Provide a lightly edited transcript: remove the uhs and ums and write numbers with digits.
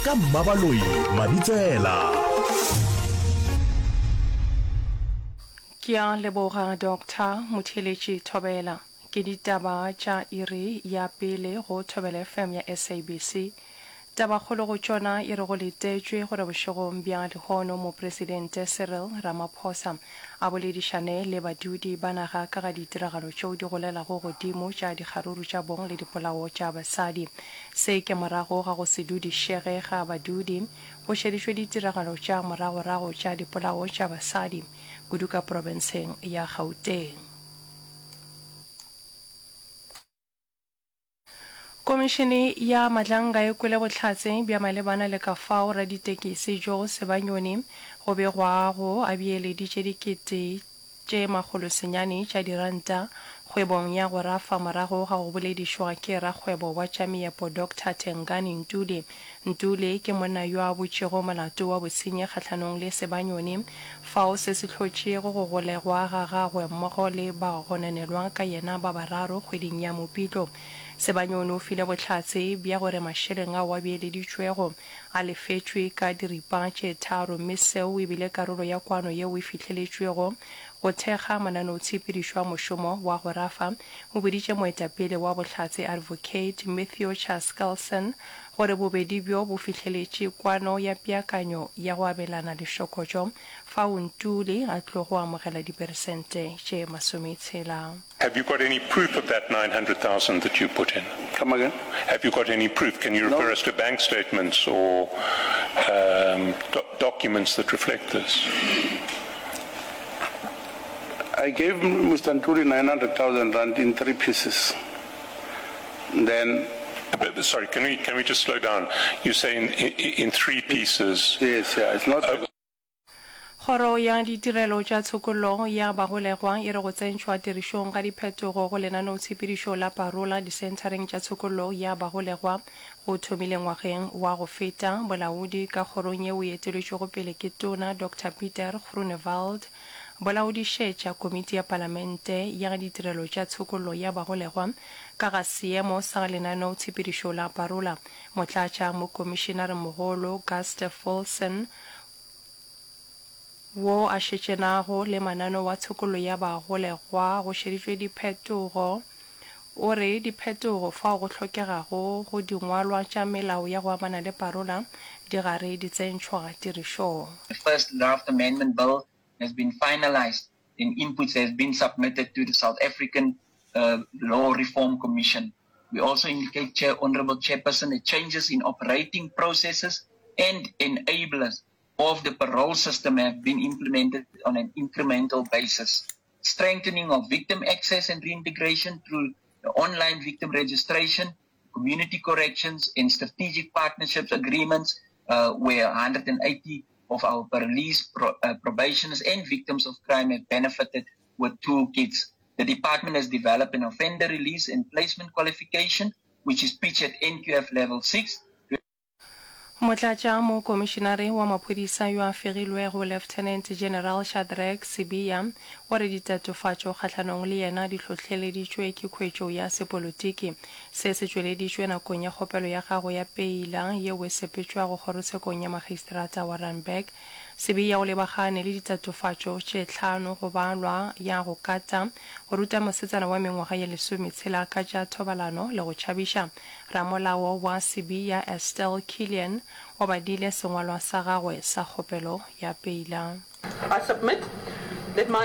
Ka Mmabaloi Mabitsela. Ke a leboga Doctor Motheeletši Thobela. Ke ditaba tša iri ya pele go Thobela FM ya SABC. Tabakgolo go tšona e re go letetšwe gore bošegong bja lehono Mopresidente Cyril Ramaphosa a boledišane le badudi ba naga ka ga ditiragalo tšeo di golelago godimo tša dikgaruru tša bong le dipolao tša basadi. Se ke morago ga go se dudišege ga badudi go šeditšwe ditiragalo tša moragorago tša dipolao tša basadi kudu ka profenseng ya Gauteng. Komišene ya Madlanga e kwele bohlatse bja malebana le ka fao raditekesi Joe Sebanyoni go begwago a beeleditše dikete tše makgolosenyane tša diranta kgwebong ya go rafa morago ga go boledišwa ke rakgwebo wa tša meepo Doctor Tengani Ntuli. Ntuli ke monna yo a butšego molato wa bosenyi kgahlanong le Sebanyoni fao se se hlotšego go golegwa ga gagwe mmogo le bagononelwa ka yena ba bararo kgweding ya Mopitlo. Sebanyoni o file bohlatse bja gore mašeleng ao a beeleditšwego a lefetšwe ka diripa tše tharo mme seo e bile karolo ya kwano yeo e fihleletšwego go thekga mananeotshepedišo a mošomo wa go rafa, o boditše moetapele wa bohlatse Advocate Matthew Chaskalson gore bobedi bjo bo fihleletše kwano ya peakanyo ya go abelana lešokotšo fao Ntuli a tlogo amogela diperesente tše masometshela. Have you got any proof of that 900,000 that you put in? Come again? Have you got any proof? Can you refer no. us to bank statements or um, do documents that reflect this? I gave Mr. Ntuli 900,000 rand in three pieces. Then Sorry, can we, can we just slow down? You say in, in, in three pieces. Yes, yeah, it's not. Uh, Kgoro ya Ditirelo tša Tshokollo ya Bagolegwa e re go tsentšhwa tirišong ga diphetogo go lenaneotshepedišo la parola disenthareng tša tshokollo ya bagolegwa go thomile ngwageng wa go feta. Bolaodi ka kgorong yeo e eteletšwego pele ke Tona Doctor Pieter Groenewald bo laodišetša Komiti ya Palamente ya Ditirelo tša Tshokollo ya Bagolegwa ka ga seemo sa lenaneotshepedišo la parola. Motlatša Mokomišenaremogolo Gustav Wilson wo a šetšenago le mananeo a tshokollo ya bagolegwa go šeditšwe diphetogo. O re diphetogo fao go hlokegago go dingwalwa tša melao ya go amana le parola di gare di tsentšhwa tirišong. The first draft amendment bill has been finalised and inputs has been submitted to the South African uh, Law Reform Commission. We also indicate, Chair, Honorable Chairperson, the changes in operating processes and enablers of the parole system have been implemented on an incremental basis. Strengthening of victim access and reintegration through the online victim registration, community corrections, and strategic partnerships agreements uh, where 180 of our parolees, pro, uh, probationers, and victims of crime have benefited with toolkits. The department has developed an offender release and placement qualification, which is pitched at NQF level 6. Motlatša Mokomišenare wa Maphodisa yo a fegilwego Lieutenant General Shadrack Sibiya o re ditatofatšo kgahlanong le yena di hlohleleditšwe ke khwetšo ya sepolotiki. Se se tšweleditšwe nakong ya kgopelo ya gagwe ya peila yeo e sepetšwago kgorotshekong ya Magistrata wa Randburg. Sibiya o lebagane le ditatofatšo tše tlhano go balwa ya go kata, go ruta mosetsana wa mengwaga ye lesometshela ka tša thobalano le go tšhabiša. Ramolao wa Sibiya Estelle Killian o badile sengwalwa sa gagwe sa kgopelo ya peila. I submit that my.